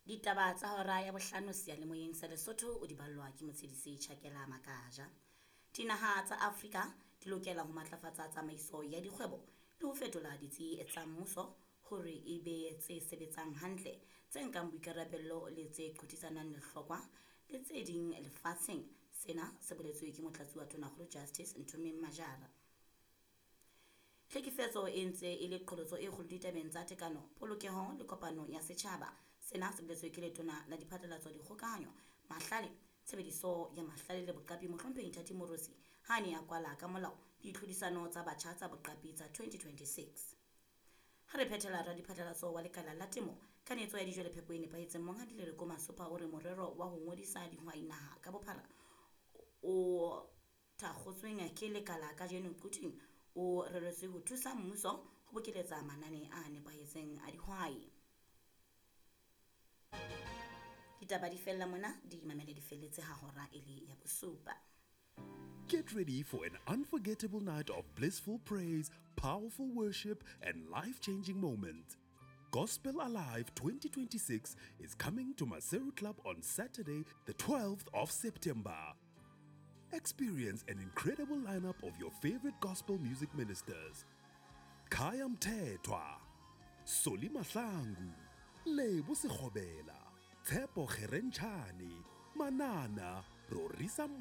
Ditaba tsa hora ya bohlano seyalemoyeng sa Lesotho o di ballwa ke Motshedisi Chakela Makaja. Dinaha tsa Afrika di lokela ho matlafatsa tsamaiso ya dikgwebo le ho fetola ditsi tsa mmuso hore e be tse sebetsang hantle, tse nkang boikarabello le tse qothisanang lehlokwa le tse ding lefatsheng. Sena se boletswe ke motlatsi wa Tonakgolo Justice Nthomeng Majara. Tlhekefetso e ntse e le qholotso e kgolo ditabeng tsa tekano, polokeho le kopano ya setjhaba. Sena se boletswe ke letona la diphatlalatso, dikgokahanyo, mahlale, tshebediso ya mahlale le boqapi Mohlomphehi Nthati Moorosi ha a ne a kwala ka molao ditlhodisano tsa batjha tsa boqapi tsa 2026. Ha re phethela radiphatlalatso wa lekala la temo, kanetso ya dijo le phepo e nepahetseng Monghadi Lereko Masopha o re morero wa ho ngodisa dihwai naha ka bophara o thakgotsweng ke lekala kajeno Quthing o reretswe ho thusa mmuso ho bokeletsa manane a nepahetseng a dihwai. Ditaba di fella mona, di mamele di felletse ha hora e le ya bosupa. Get ready for an unforgettable night of blissful praise, powerful worship, and life changing moments. Gospel Alive 2026 is coming to Maseru Club on Saturday, the 12th of September. Experience an incredible lineup of your favorite gospel music ministers: Khaya Mthethwa, Solly Mahlangu, Lebo Sekgobela, Tshepo Kgerentshane, Manana, Rorisang.